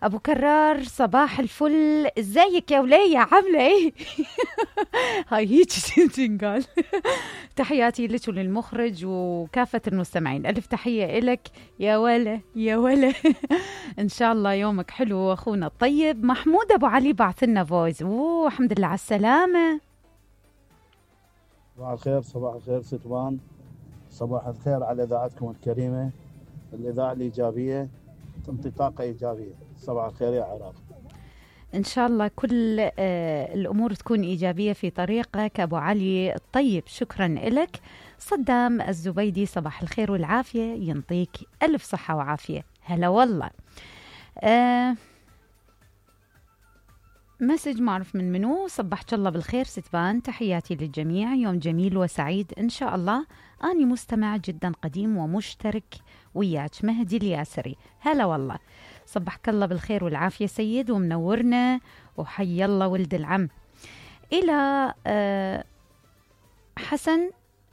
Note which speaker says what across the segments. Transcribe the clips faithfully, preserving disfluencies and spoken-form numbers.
Speaker 1: ابو كرار صباح الفل، ازيك يا ولية عاملة ايه؟ هاي هيك تنقال. تحياتي لك وللمخرج وكافة المستمعين، الف تحية الك يا ولا يا ولا. ان شاء الله يومك حلو اخونا الطيب. محمود ابو علي بعث لنا فويس. اوه الحمد لله على السلامة.
Speaker 2: صباح الخير، صباح الخير ستوان، صباح الخير على اذاعتكم الكريمة، الاذاعة الايجابية تنطي طاقة ايجابية. صباح الخير يا عراق.
Speaker 1: إن شاء الله كل آه الأمور تكون إيجابية في طريقك أبو علي الطيب. شكرا لك. صدام الزبيدي صباح الخير والعافية، ينطيك ألف صحة وعافية. هلا والله. آه مسج ما أعرف من منو. صبحت الله بالخير ستبان، تحياتي للجميع، يوم جميل وسعيد إن شاء الله. أني مستمع جدا قديم ومشترك وياك، مهدي الياسري. هلا والله. صبحك الله بالخير والعافية سيد، ومنورنا، وحي الله ولد العم. إلى آه حسن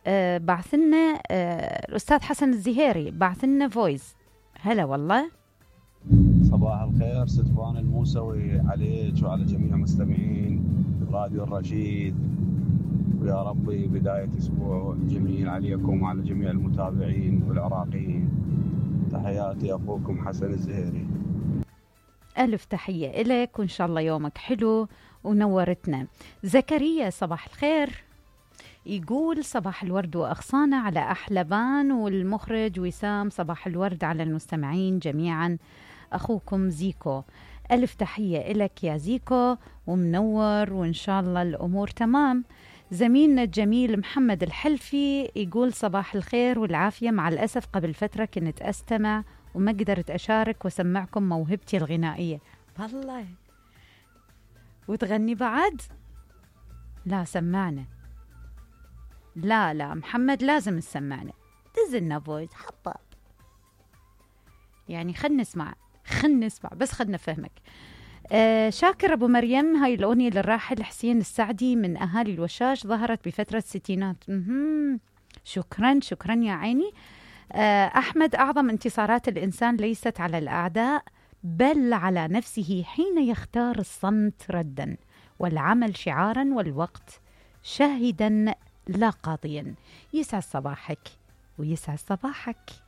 Speaker 1: آه بعثنا آه الأستاذ حسن الزهيري بعثنا فويس. هلا والله.
Speaker 3: صباح الخير ستفان الموسوي عليك وعلى جميع مستمعين راديو الرشيد، ويا ربي بداية أسبوع جميل عليكم وعلى جميع المتابعين والعراقيين. تحياتي أخوكم حسن الزهيري.
Speaker 1: ألف تحية إليك، وإن شاء الله يومك حلو ونورتنا. زكريا صباح الخير، يقول صباح الورد وأغصانة على أحلبان والمخرج وسام. صباح الورد على المستمعين جميعا. أخوكم زيكو. ألف تحية إلك يا زيكو، ومنور وإن شاء الله الأمور تمام. زميلنا الجميل محمد الحلفي يقول صباح الخير والعافية، مع الأسف قبل فترة كنت أستمع وما قدرت أشارك وسمعكم موهبتي الغنائية. والله وتغني بعد؟ لا سمعنا. لا لا محمد لازم تسمعنا، تزلنا فويس حطاب يعني. خلنا نسمع خلنا نسمع بس خلنا نفهمك. آه شاكر أبو مريم، هاي الأغنية للراحل حسين السعدي من أهالي الوشاش، ظهرت بفترة الستينات. شكرا شكرا يا عيني. آه أحمد، أعظم انتصارات الإنسان ليست على الأعداء بل على نفسه حين يختار الصمت ردا والعمل شعارا والوقت شاهدا لا قاضيا. يسعد صباحك ويسعد صباحك.